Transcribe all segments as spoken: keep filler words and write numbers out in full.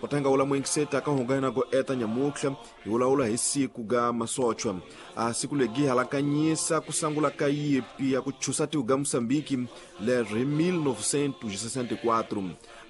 Kotanga ula muingiseta ka hungana go eta nyamukhla hi wulaula hi siku ga masochwa a siku legi halakanyisa kusangula ka yipi ya kuchusa tiku ga Moçambique leri mil novecentos e sessenta e quatro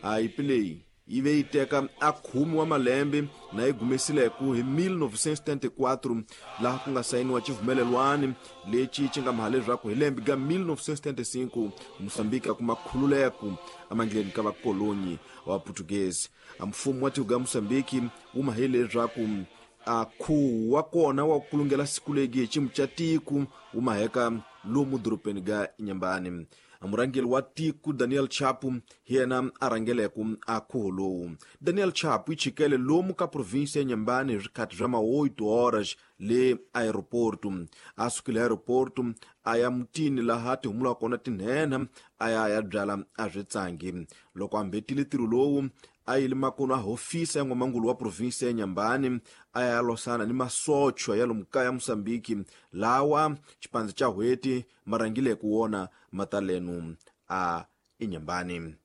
a yipi leyi yi ve yi teka a khume wa malembe na yi gumesileku hi mil novecentos e setenta e quatro laha ku nga sayiniwa xivumelelwani lexi xi nga maha leswaku hi lembe ga mil novecentos e setenta e cinco Moçambique a kuma khululeku emandleni ka vakolonyi wa Portuguese. A mfumo wa tiko ga Moçambique wu mahe leswaku a khuwa wa kona wa kulungela siku legi hi ximu xa tiko wu maheka lomu dorobeni ga Inhambane. Murhangeri wa tiko Daniel Chapo hi yena a rhangeleku a khuho lowu. Daniel Chapo yi chikele lomu ka província ya Inhambane hi swikhathi swa ma oito horas le aeroporto. A sukile aeroporto a ya mutini laha ti humulaka kona tinhenha a ya ya byala a switsangi. Loko a mbetile ntirho lowu a yile makono a hofisa ya n'wamangulu wa província ya Inhambane a ya losana ni masochwa ya lomu kaya Moçambique lawa xipandza xa hweti ma rhangileke wona matalenu a Inhambane.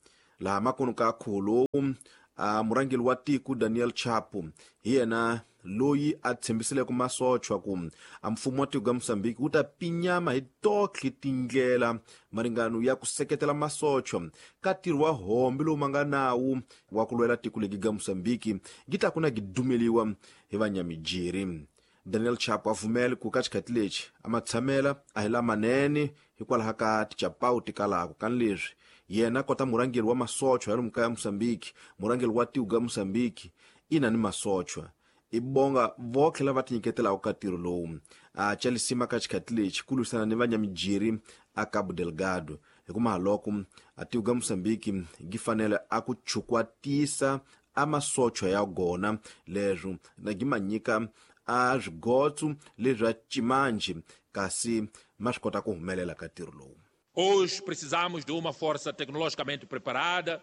Laha makono ka khuho lowu a murhangeri wa tiko Daniel Chapo hi yena loyi a tshembisileke masochwa ku a mfumo wa tiko ga Moçambique wu ta pinyama hi totlhe tindlela maringano ya ku seketela masochwa ka ntirho wa hombe lowu ma nga nawu wa ku lwela tiko legi ga Moçambique gi ta ku na gi dumeliwa hi vanyamijiri. Daniel Chapo a pfumele ku ka xikhathi lexi a ma tshamela a hi lamanene hikwalaho ka tichapawu ti kalako kani leswi yena kota murhangeri wa masochwa ya lomu kaya Moçambique, murhangeri wa tiko ga Moçambique ina ni masochwa i bonga votlhe lava tinyiketelaka ka ntirho lowu a chalisima ka xikhathi lexi ku lwisana ni vanyamijiri a Cabo Delgado hikuva loko a tiko ga Moçambique gi fanele a ku chukwatisa a masochwa ya gona leswo na gi ma nyika a swigotso leswi a cimanji kasi ma swi kota ku humelela ka ntirho lowu. Hoje precisamos de uma força tecnologicamente preparada,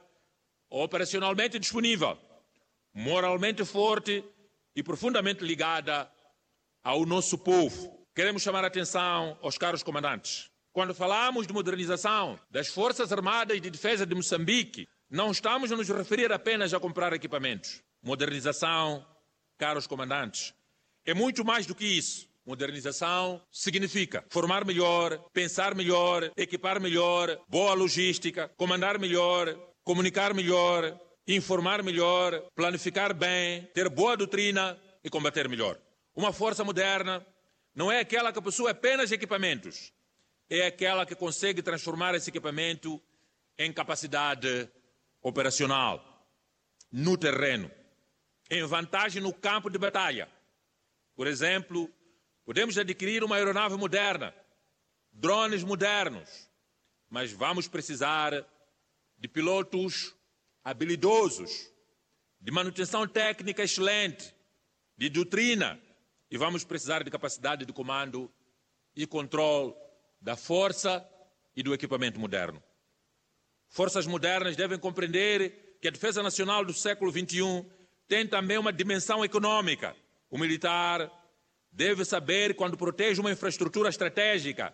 operacionalmente disponível, moralmente forte e profundamente ligada ao nosso povo. Queremos chamar a atenção aos caros comandantes. Quando falamos de modernização das Forças Armadas de Defesa de Moçambique, não estamos a nos referir apenas a comprar equipamentos. Modernização, caros comandantes, é muito mais do que isso. Modernização significa formar melhor, pensar melhor, equipar melhor, boa logística, comandar melhor, comunicar melhor, informar melhor, planificar bem, ter boa doutrina e combater melhor. Uma força moderna não é aquela que possui apenas equipamentos, é aquela que consegue transformar esse equipamento em capacidade operacional, no terreno, em vantagem no campo de batalha. Por exemplo, podemos adquirir uma aeronave moderna, drones modernos, mas vamos precisar de pilotos habilidosos, de manutenção técnica excelente, de doutrina, e vamos precisar de capacidade de comando e controle da força e do equipamento moderno. Forças modernas devem compreender que a defesa nacional do século vinte e um tem também uma dimensão econômica. O militar deve saber, quando protege uma infraestrutura estratégica,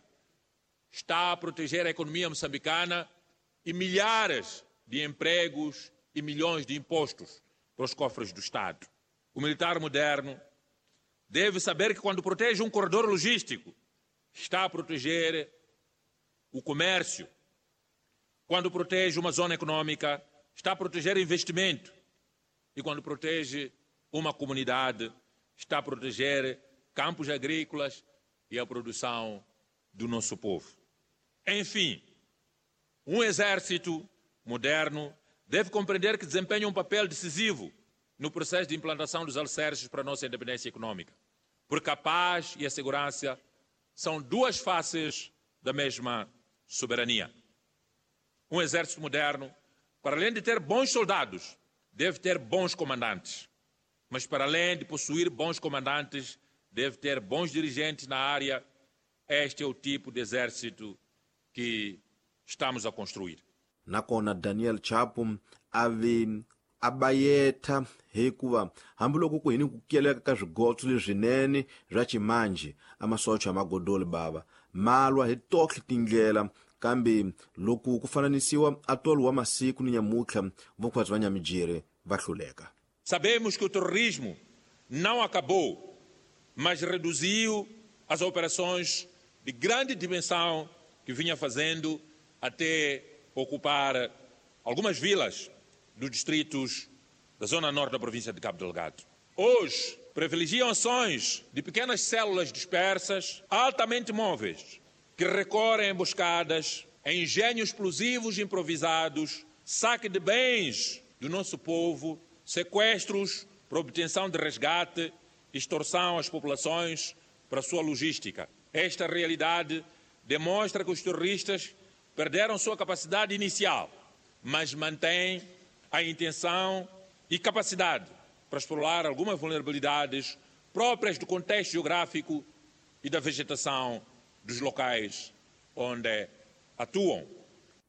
está a proteger a economia moçambicana e milhares de empregos e milhões de impostos para os cofres do Estado. O militar moderno deve saber que, quando protege um corredor logístico, está a proteger o comércio. Quando protege uma zona econômica, está a proteger investimento. E quando protege uma comunidade, está a proteger campos agrícolas e a produção do nosso povo. Enfim, um exército moderno deve compreender que desempenha um papel decisivo no processo de implantação dos alicerces para a nossa independência econômica, porque a paz e a segurança são duas faces da mesma soberania. Um exército moderno, para além de ter bons soldados, deve ter bons comandantes. Mas para além de possuir bons comandantes, deve ter bons dirigentes na área. Este é o tipo de exército que estamos a construir. Nakona Daniel Chapo ave abayetha hikuva hambiloko ku hini ku keleka ka swigotso leswinene swa ximanjhe amasocha magodoli bava malwa hi tohle tindlela kambe loko ku fananisiwa atolo wa masiku ni nyamutlha vokhwatsi va nyamijiri va hluleka. Sabemos que o terrorismo não acabou, mas reduziu as operações de grande dimensão que vinha fazendo até ocupar algumas vilas dos distritos da zona norte da província de Cabo Delgado. Hoje, privilegiam ações de pequenas células dispersas, altamente móveis, que recorrem a emboscadas, a engenhos explosivos improvisados, saque de bens do nosso povo, sequestros para obtenção de resgate, extorsão às populações para sua logística. Esta realidade demonstra que os terroristas perderam sua capacidade inicial, mas mantêm a intenção e capacidade para explorar algumas vulnerabilidades próprias do contexto geográfico e da vegetação dos locais onde atuam.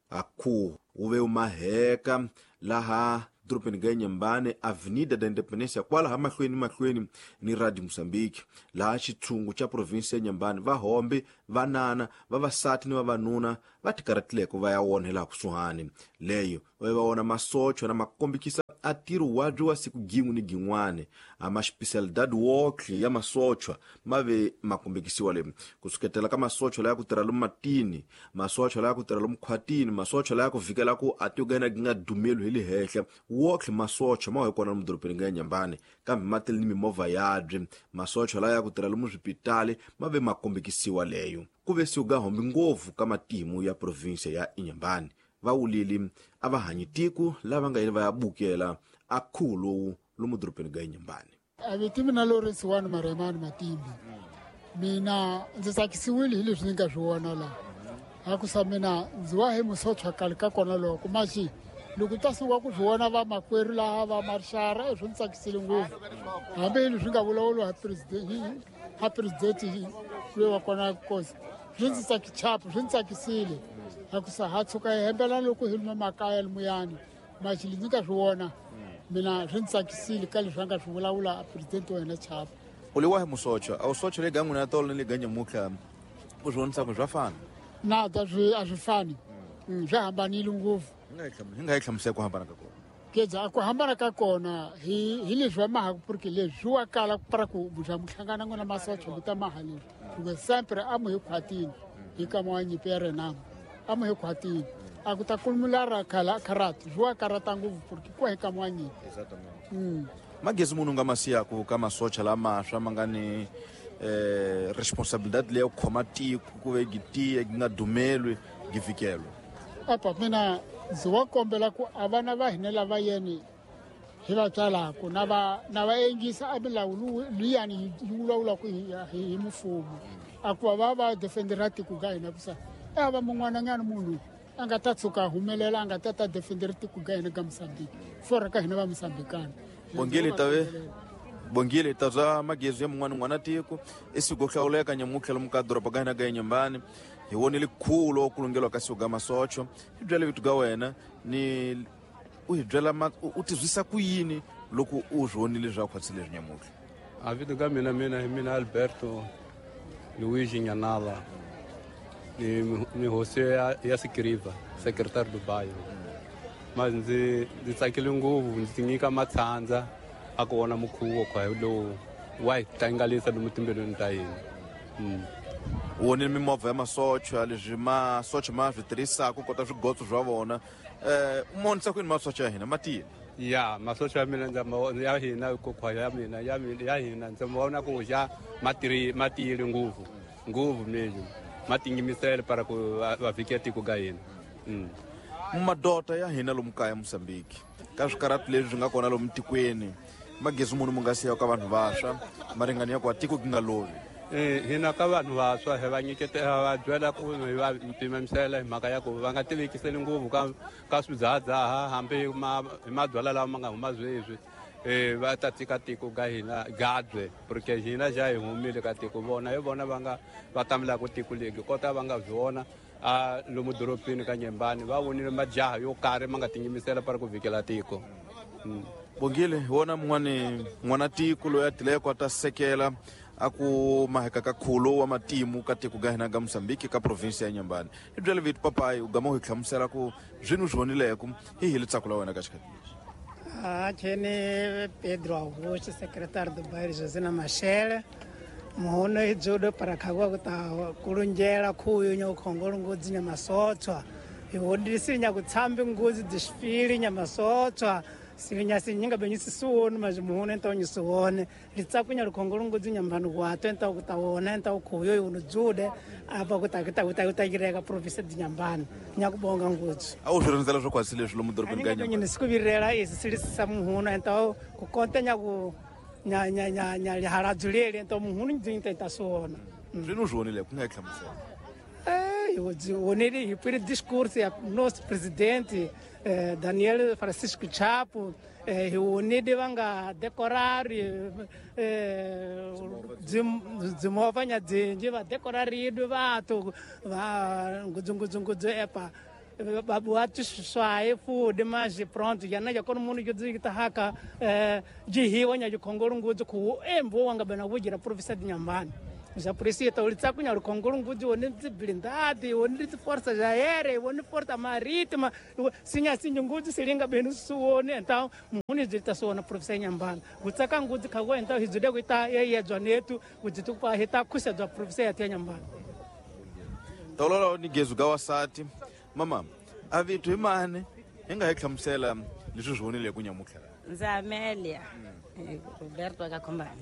Aku uve umaheka laha dorobeni ga Inhambane, Avenida da Independência, kwalaha mahlweni mahlweni ni Radio Moçambique, laha xitshungu xa provinsi ya Inhambane, vahombe, vanana, vavasati ni vavanuna va tikarhatileko va ya wona hilaha kusuhani. Leyo va va wona masochwa na makombekisa a ntirho wabyi wa siku gin'we ni gin'wana a ma-specialidade wotlhe ya masochwa ma ve ma kombekisiwa le kusuketela ka masochwa laya ku tirha lomu matini, masochwa laya ku tirha lomu khwatini, masochwa laya ku vikela ku a tiko ga gi nga dumeli hi le henhla. Wotlhe masochwa ma hi kona lomu dorobeni ga Inhambane, kambe ma tele ni mimovha yabye. Masochwa laya ku tirha lomu swipitali ma ve ma kombekisiwa leyo. Ku ve siku ga hombi ngopfu ka matimu ya provinsia ya Inhambane. Va wulile a va hanyi tiko lava nga yini va ya bukela a khuvo lowu lomu dorobeni ga Inhambane. A vito mina Lawrence Wani Maremani Matimbi. Mina ndzi tsakisiwile hi leswi ni nga swi vona laha. A ku sa mina ndzi wa hi musochwa khale ka kona loko maxi loko ta sungula ku swi vona vamakwerhu laha va marixara swi ndzi tsakisile ngopfu. Hambi hi leswi nga vulavuriwa ha president ha president loyi wa kona kosi swi ndzi tsaki chapu swi ndzi tsakisile. A ku sa ha tshuka hi hembela loko hi luma makaya limuyani maxi ndzi nga swi vona mina swi ndzi tsakisile ka leswi a nga swi vulavula president wa hina Chapo. U le wahi musochwa? A wu sochwa le ga n'wina tolo ni le ga nyamutlha u swi vonisa ku swa fana? Na ta swi a swi fani, swi hambanile ngopfu. Hi nga yi hlamusela ku hambana ka kona? Kedza a ku hambana ka kona hi hi leswi va mahaku porque leswi swi wa kala para ku bya muhlangana n'wina masochwa mi ta maha leswi hikuva sempre a mu hi khwatini hi kama wa nyimpi ya Renamo a mu hi khwatini a ku ta kulumula ra khala karata swi wa karata ngopfu porque ku hi kama wa nyimpi. Magezi munhu nga masiyaku ka masocha lamaswa ma nga ni eh responsabilidade leyi ya ku khoma tiko ku ve gi tiye gi nga dumelwi gi vikelwa. Apa mina ndzi wa kombela ku a vana va hina lava yeni hi va tswalaku na va na va engisa a milawu liyani yi vulavulaka hi hi mfumo a ku va va defendera tiko ga hina ku sa a va mun'wananyana munhu a nga ta tshuka humelela a nga ta ta defendera tiko ga hina ka Mozambique for ka hina va Mozambikana. Bongile tave Bongile ta bya magezi ya mun'wana n'wana tiko i siku hlawuleka nyamutlha lomu ka doroba ga hina ga Inhambane. Hi vonile khulo ku lunghelwa ka siku ga masocho. Hi byele vito ga wena ni u hi byela u tizwisa ku yini loko u swi vonile swa khwatsi leswi nyamutlha? A vito ga mina mina hi mina Alberto Luigi Nyanala ni ni hosi ya, ya Sikiriva, secretary do bairro. Mas ndzi ndzi tsakile ngopfu ndzi tinyika matshandza a ku vona mukhuvo kwa lowu wa hi tlangalisa lomu timbilwini ta hina. U vonile mimovha ya masochwa leswi masocha ma swi tirhisaka ku kota swigotso swa vona. Eh u monisa ku yini masocha ya hina ma tiyile? Ya masocha ya mina ndza ma ya hina kokhwa ya mina ya mina ya hina ndza ma vona ku ja ma tiri ma tiyile ngopfu ngopfu mesmo ma tingimisele para ku va vhikela tiko ga hina. Madota ya hina lomu kaya Mozambique ka swikarhati leswi swi nga kona lomu tikweni magezi munhu mu nga siya ka vanhu vantshwa maringani ya ku tiko gi nga lovi. Eh hina ka vanhu vantshwa hi va nyiketela va byela ku hi va pimamisela hi mhaka ya ku va nga tivekiseli ngopfu ka ka swidzahadzaha hambi ma hi mabyalwa lawa ma nga huma sweswi eh va ta tika tiko ga hina gadwe porque hina ja hi humile ka tiko vona hi vona va nga va tamelaka tiko legi kota va nga vona a lomu dorobeni ka Nyembani va vonile majaha yo karhi ma nga tinyimisela para ku vikela tiko. Bongile hi wona mun'wani n'wana tiko loyi a tileko a ta sekela a ku maheka ka khulo wa matimu ka tiko ga hina ga Mozambique ka provinsi ya Inhambane. Hi byele vito papayi u gama u hi hlamusela ku swini u swi vonileko hi hi litsako la wena ka xikhathi lexi. Aqui Pedro Augusto, secretário do bairro Josina Machel. Muhono ijudo para kagwa kuta kulunjela kuyo nya ukhongolo ngudzi nya masotswa. Iwodisi nya kutsambi ngudzi desfile nya masotswa. Sinya sinyinga benyisi suone mas muhono então nyisuone. Litsakunya lukhongolo ngudzi nya mbanu kwato então kutawona então kuyo yuno jude apa kuta kuta kuta kuta província de Inhambane. Nya kubonga ngudzi. A wu swi rindzela swo kwasi leswi lomu dorobeni ka Inhambane. Nisikuvirela isi silisa muhono então kukonta nya ku nya nya nya nya liharadzulele então muhunu ndzinta itasona. Zwino zwonile ku nga hlamusela. Eh, eu onele hipiri discurso ya nosso presidente eh, Daniel Francisco Chapo, eh, onele vanga decorar eh dzimova nya dzinji va decorar idu vatu va ngudzungudzungudzu epa babuatu swae fude mas pronto já na já quando mundo que tá haka de nya de ngudzu ku embo wanga bana vujira província de Inhambane. Já por isso tá ulitsakunya lukhongolo ngudzu one blindade one força aérea one força marítima sinya sinya ngudzu silinga benu suone então muni zita suona província de Inhambane kutsaka ngudzu khagwa então hizude kuita yeyedzwa netu kudzitu pa hita kusa da província de Inhambane. Tololo ni gezu gawasati mama a vitu imane hi nga hi hlamusela leswi swi vonile ku nyamutlha. Ndzi Amelia Roberto ka Khombani.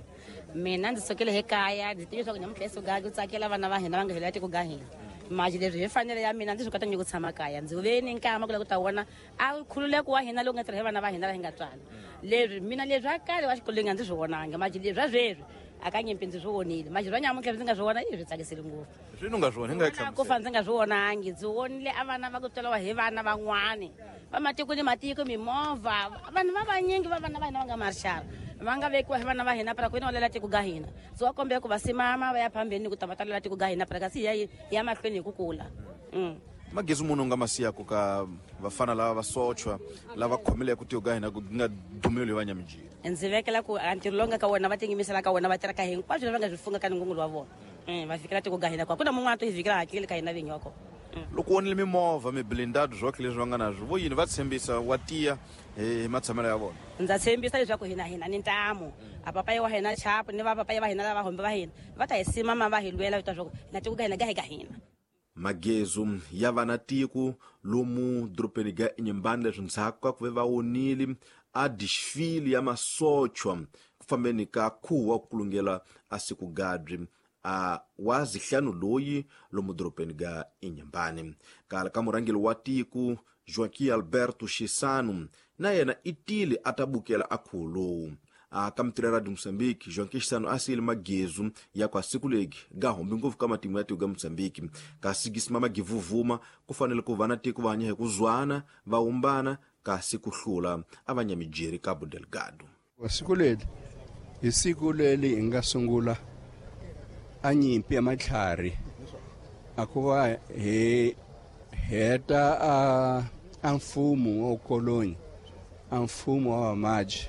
Mina ndzi sukile hi kaya ndzi tiva leswaku nyamutlha esuka ku tsakela vana va hina va nga hela tiko ga hina. Manje leswi hi fanele ya mina ndzi swi kota nyiko tshama kaya ndzi ve ni nkama ku lava ku ta vona a khululeko wa hina lowu nga tirha hi vana va hina la hi nga tswala. Leswi mina leswi a kale wa xikolweni a ndzi swi vonanga manje leswi a sweswi akanyimpi ndzi swi vonile manje swa nyamutlha ndzi nga swi vona i swi tsakisile ngopfu. Swi nga swi vona hi nga hlamusela. Ku fa ndzi nga swi vonangi ndzi vonile a vana va ku tswariwa hi vana van'wani va matiko ni matiko mimovha vanhu va vanyingi va vana va hina va nga marshal va nga vekiwa hi vana va hina para ku ina lela tiko ga hina ndzi wa kombela ku va simama va ya phambeni ku ta va talela tiko ga hina para kasi ya ya mahlweni hi ku kula. Magezi munhu nga masiyaku ka vafana lava va sochwa lava khomile ku tiko ga hina ku nga dumeli va nyamijini. Ndzi vekela ku a ntirho lowu nga ka wona va tinyimisela ka wona va tirha ka hinkwaswo leswi va nga swi funga ka ngungulo wa vona va fikela tiko ga hina kwa ku na mun'wana to hi fikela hakeli ka hina vinyi wa kona. Loko vonile mimovha miblindado swoke leswi va nga na swo vo yini va tshembisa wa tiya hi matshamelo ya vona. Ndza tshembisa leswaku hina hina ni ntamu a papayi wa hina Chapo ni va papayi va hina lava hombe va hina va ta hi simama va hi lwela leswaku hina tiko ga hina ga hi ka hina. Magezu ya vana tiko lomu dorobeni ga Inhambane leswi ndzhaku ka ku ve va wonile a desfile ya masochwa ku fambeni ka khuwa wa ku kulungela a siku gadri a wa zihlanu loyi lomu dorobeni ga Inhambane. Kala ka murhangeri wa tiko Joaquim Alberto Chissano na yena i tile a ta bukela a khuwo lowu. A ka mitirhi ya Moçambique Joaquim Chissano a siyile magezu ya kwa siku legi ga hombi ngopfu ka matimu ya tiko ga Moçambique kasi gisimama givuvuma ku fanele ku va na tiko va hanya hi ku zwana va humbana kasi ku hlula a va nyamijeri Cabo Delgado. Siku leri hi siku leri hi nga sungula a nyimpi ya matlhari a ku va hi heta a a mfumo wa ukoloni a mfumo wa vamaji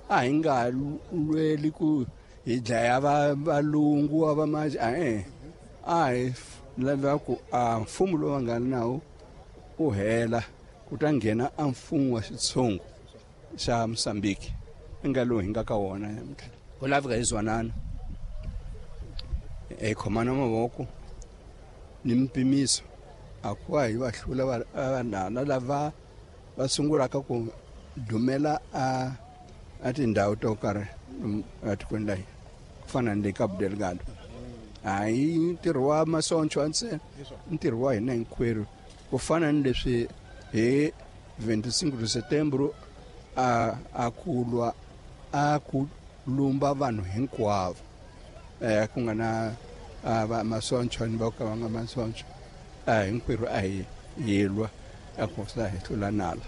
a hi nga lweli ku hi dlaya va valungu wa vamaji a e a hi lava ku a mfumo lowu va nga nawo u hela ku ta nghena a mfumo wa xitshungu xa Mozambique i nga lowu hi nga ka wona namuntlha. Ku laveka hi zwanana hi khomana mavoko ni mpimiso a ku va hi va hlula vanhana lava va sungulaka ku dumela a a tindhawu to karhi etikweni la hina ku fana ni le Cabo Delgado. A hi ntirho wa masonchwa ntsena ntirho wa hina hinkwerhu ku fana ni leswi hi vinte e cinco de setembro a a ku lwa a ku lumba vanhu hinkwavo eh ku nga na va masonchwa ni va ka va nga masonchwa a hinkwerhu a hi yilwa a ku sa hi hlula nala.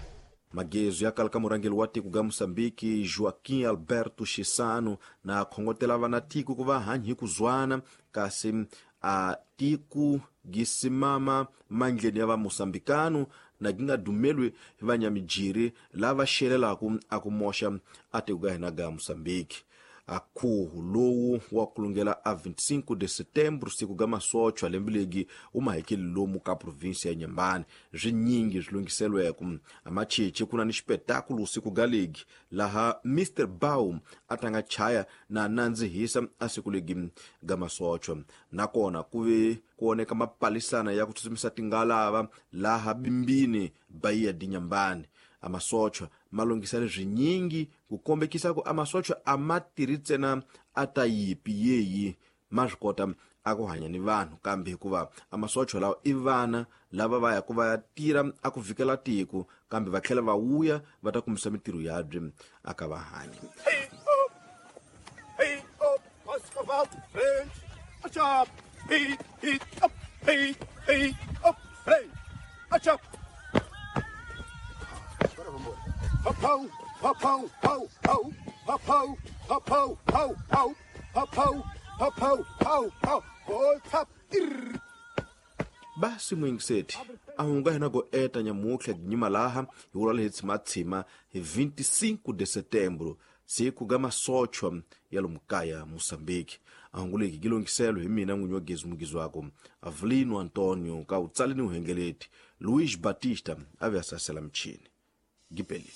Magezu ya kala ka murhangeri wa tiko ga Moçambique Joaquim Alberto Chissano na khongotela vana tiko ku va hanyi hi ku zwana kasi a tiko gisimama mandleni ya va Moçambicano na gi nga dumelwi hi vanyamijiri lava xelelaku a ku moxa a tiko ga hina ga Moçambique. A khuhu lowu wa kulungela a vinte e cinco de setembro siku ga masochwa lembe legi wu mahekeli lomu ka provinsia ya Nyambani. Swinyingi swi lunghiselweko a macheche ku na ni xipetakulu siku ga legi laha Mister Baum a tanga chaya na nandzihisa a siku legi ga masochwa. Nakona ku ve ku oneka mapalisana ya ku tsutsumisa tingalava laha bimbini Bahia de Nyambani. A masochwa ma lunghisele swinyingi ku kombekisa ku a masochwa a ma tirhi ntsena a ta yipi yeyi ma swi kota a ku hanya ni vanhu, kambe hikuva a masochwa lawa i vana lava va ya ku va ya tirha a ku vikela tiko, kambe va tlhela va wuya va ta kumisa mintirho yabye a ka va hanya. Hey up, hey up, hey, hey up, hey, hey up, hey, achap. Ho, ho, ho, ho, ho, ho, ho, ho, ho, ho, ho, ho, ho, ho, ho, ho, ho, tap. Basi mwingiseti a hunga hina go eta nyamutlha ginyima laha hi wula hi tshimatshima hi vinte e cinco de setembro siku ga masochwa ya lomukaya Moçambique. A hunguleki gi lunghiselo hi mina n'winyi wa gezi mugizi wako Avelino Antonio ka utsaleni uhengeleti Luiz Batista a ve a sasela michini. Gipeli.